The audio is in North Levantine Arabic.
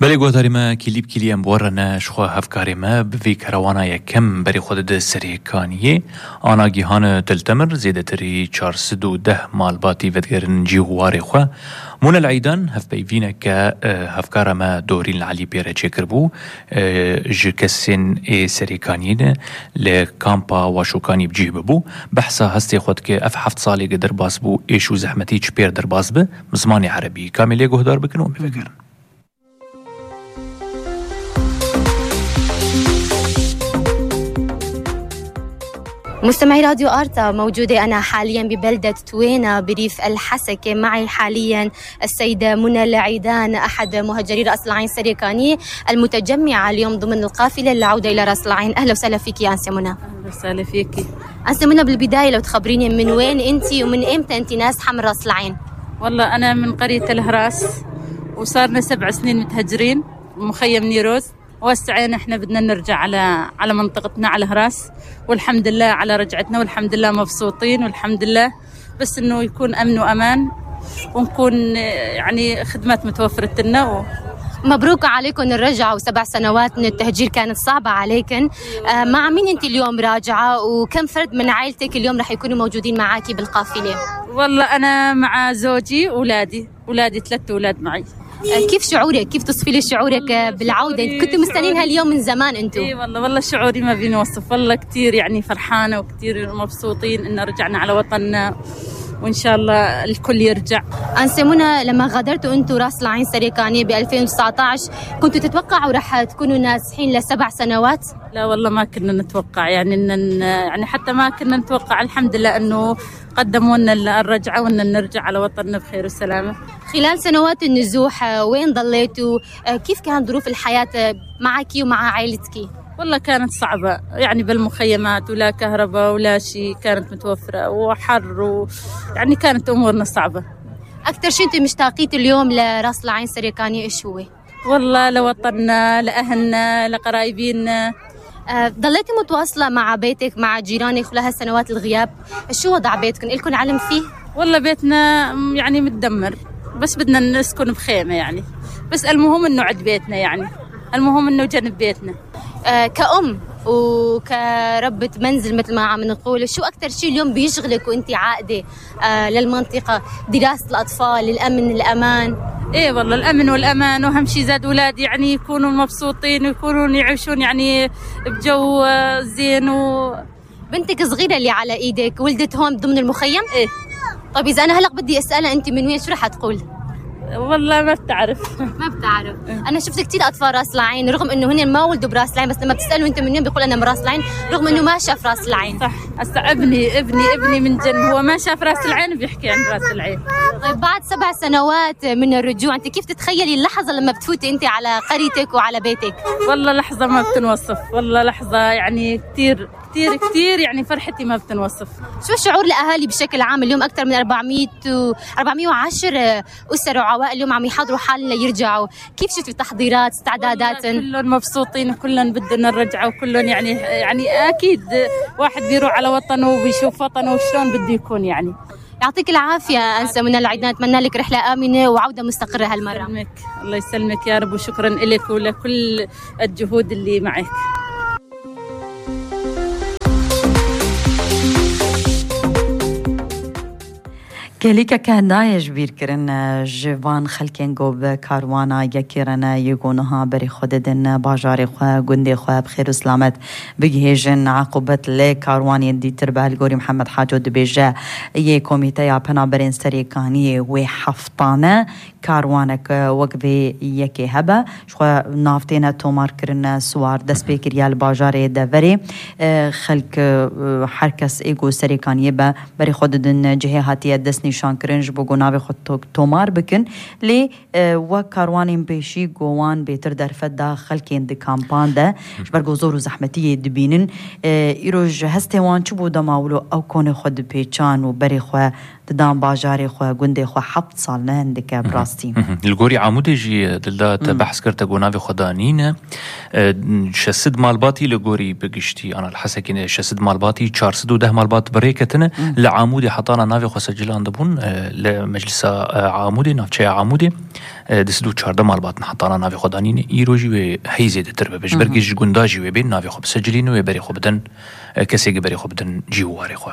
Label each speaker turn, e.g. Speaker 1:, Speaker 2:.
Speaker 1: بله گوهداری ما کلیب کلیم بورنا شخوا هفکاری ما بوی کروانا یکم بری خود سریکانیه آنا گیهان تلتمر زیده تری 410 مالباتی ودگرن جیهواری خوا مون العیدان هف بیوینه که هفکار ما دورین العلی بیره چکر بو جکسین سریکانیه لکامپا و شوکانی بجیه ببو بحثا هستی خود که اف 7 سالی قدر باز بو ایشو زحمتی چ پیر در باز به مزمانی عربی کاملی گوهدار بکنو بفکرن.
Speaker 2: مستمعي راديو آرتا، موجودة أنا حاليا ببلدة توينا بريف الحسكة. معي حاليا السيدة منى العيدان، أحد مهجري رأس العين سريكانية المتجمعة اليوم ضمن القافلة للعودة إلى رأس العين. أهلا وسهلا فيك يا أنسة منى.
Speaker 3: أهلا وسهلا فيك
Speaker 2: أنسة منى، بالبداية لو تخبريني من وين أنت ومن إمتى أنت ناس حمل رأس العين؟
Speaker 3: والله أنا من قرية الهراس وصارنا 7 سنين متهجرين مخيم نيروز، وهسه احنا بدنا نرجع على منطقتنا على هراس، والحمد لله على رجعتنا، والحمد لله مبسوطين، والحمد لله بس انه يكون امن وامان ونكون يعني خدمات متوفرة لنا
Speaker 2: مبروك عليكم الرجعة، و7 سنوات من التهجير كانت صعبة عليكن. مع مين انت اليوم راجعة، وكم فرد من عائلتك اليوم رح يكونوا موجودين معاكي بالقافلة؟
Speaker 3: والله انا مع زوجي ولادي 3 أولاد معي.
Speaker 2: كيف شعورك؟ كيف تصفي لي شعورك بالعودة؟ كنتوا مستنين هاليوم من زمان انتوا.
Speaker 3: اي والله شعوري ما بينوصف، والله كتير يعني فرحانة وكتير مبسوطين ان رجعنا على وطننا، وإن شاء الله الكل يرجع.
Speaker 2: أنسة منى، لما غادرتوا أنتوا رأس العين سريكانية ب 2019 كنتوا تتوقعوا رح تكونوا نازحين ل7 سنوات؟
Speaker 3: لا والله ما كنا نتوقع، يعني حتى ما كنا نتوقع. الحمد لله أنه قدموا لنا الرجعة وأن نرجع على وطننا بخير وسلامة.
Speaker 2: خلال سنوات النزوح وين ضليتوا؟ كيف كانت ظروف الحياة معك ومع عائلتك؟
Speaker 3: والله كانت صعبة، يعني بالمخيمات ولا كهرباء ولا شيء كانت متوفرة، وحر يعني كانت أمورنا صعبة.
Speaker 2: أكثر شيء أنت مشتاقين اليوم لرأس العين سريكانية إيش هو؟
Speaker 3: والله لوطننا، لأهلنا، لقرايبينا.
Speaker 2: ضليتي متواصلة مع بيتك مع جيرانك خلال هالسنوات الغياب؟ شو وضع بيتكم؟ إلكم علم فيه؟
Speaker 3: والله بيتنا يعني متدمر، بس بدنا نسكن بخيمة يعني، بس المهم إنه عند بيتنا، يعني المهم إنه جنب بيتنا.
Speaker 2: كأم وكربة منزل مثل ما عم نقول، شو أكتر شيء اليوم بيشغلك وانت عائدة للمنطقة؟ دراسة الأطفال، الأمن، الأمان؟
Speaker 3: إيه والله الأمن والأمان، وأهم شيء زاد أولادي يعني يكونوا مبسوطين ويكونوا يعيشون يعني بجو زين.
Speaker 2: بنتك صغيرة اللي على إيدك ولدت هون ضمن المخيم؟
Speaker 3: إيه.
Speaker 2: طيب إذا أنا هلأ بدي أسألها أنت من وين، شو رح تقول؟
Speaker 3: والله ما بتعرف.
Speaker 2: ما بتعرف. أنا شفت كتير أطفال رأس العين رغم إنه هن ما ولدوا براس العين، بس لما بتسألوا أنت من وين بيقول أنا من رأس العين رغم إنه ما شاف رأس العين.
Speaker 3: صح. هسه ابني من جن هو ما شاف رأس العين بيحكي عن رأس العين.
Speaker 2: طيب بعد 7 سنوات من الرجوع أنت كيف تتخيلي اللحظة لما بتفوتي أنت على قريتك وعلى بيتك؟
Speaker 3: والله لحظة ما بتنوصف، والله لحظة يعني كتير كتير كتير يعني فرحتي ما بتنوصف.
Speaker 2: شو الشعور الأهالي بشكل عام؟ اليوم أكثر من 410 أسر وعوائل اليوم عم يحضروا حالنا يرجعوا، كيف شفتوا التحضيرات استعدادات؟
Speaker 3: كلهم مبسوطين وكلهم بدنا نرجع، وكلهم يعني أكيد واحد بيروح على وطنه وبيشوف وطنه وشلون بده يكون. يعني
Speaker 2: يعطيك العافية أنسة منى العيدان، أتمنى لك رحلة آمنة وعودة مستقرة هالمرة.
Speaker 3: يسلمك. الله يسلمك يا رب، وشكرا لك ولكل الجهود اللي معك.
Speaker 4: كليكا كان دايج بير كرن جوان خلكين جوب كاروانا يكيرنا يقونها بري خددن باجاري خوا جندي خوا بخير وسلامت بجهجن عقوبة لي كاروان يدي تربه الجوري محمد حاجو دبيجا يه كوميتيا بنا برين سريكانية وحفطانة كاروانك وقفي يكي هبا شو نافتينا تومار كرن سوار دس بيكريال باجاري دافري خلك حركس ايجو سريكانية با بري خددن جهاتي دسني شان کرنج بو گناوی خود تومار بکن لی و کاروانین پیشی گوان بیتر در فدا خلکین دی کامپان ده برگو زور و زحمتی دبینن ایروج هسته وان چو بودا ماولو او کون خود پیچان و بری خو ددان باجاري خو گوندي خو 7 سال نه هندك براستي
Speaker 1: الگوری عمودی جی دلدات بحث کرده گوناوی خدانین شسد مالباتی لگوری بگشتی انا الحسكين شسد مالباتی 410 مالبات بريكتنا لعمودي حطانا نافي خو سجلان دبون لمجلس عمودي نافچه عمودي دسدو 14 مالبات حطانا نافي خدانین ایروجی و هی زیده تر ببش برگیش گونداجی و بین نافي خو بسجلین و بری خو بدن کسی بری خو بدن جیواری خو